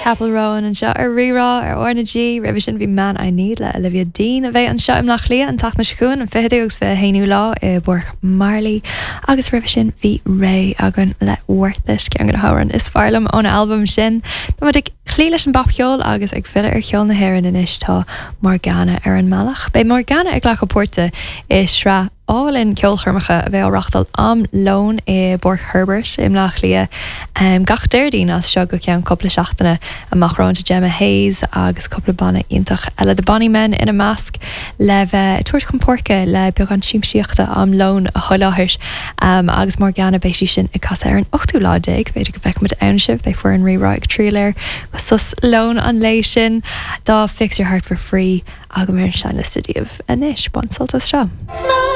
Chappell Roan anseo ar Rí-Rá ar R na G. Roimhe sin bhí Man I Need le Olivia Dean a bheidh anseo i mBleá Cliath an tseachtain seo chugainn, an 20ú agus 21ú lá i bPáirc Marley. Agus roimhe sin bhí Raye againn le Worth It, ceann de na hamhráin is fearr liom óna albam sin. Tá muid ag cloí leis an bpopcheol agus ag filleadh ar cheol na hÉireann anois tá Morgana ar an mbealach. Beidh Morgana ag glacadh páirte i sraith álainn ceolchoirmeacha a bheidh á reáchtáil am lóin i bPáirc Herbert i mBleá Cliath gach Déardaoin as seo go ceann cúpla seachtaine amach romhainn. Tá Gemma Hayes agus cúpla banna iontach eile, The Bonny Men ina measc, le bheith ag tabhairt chun páirce le beagán siamsaíochta am lóin a sholáthar. Agus Morgana, beidh sí sin ag casadh ar an ochtú lá déag. B'fhéidir go bhfeicfimid ann sibh, beidh foireann Rí-Rá ag triall air go sos lóin an lae sin. Tá Fix Your Heart for Free. Agam ar an seinnliosta daoibh anois. Bain sult as seo.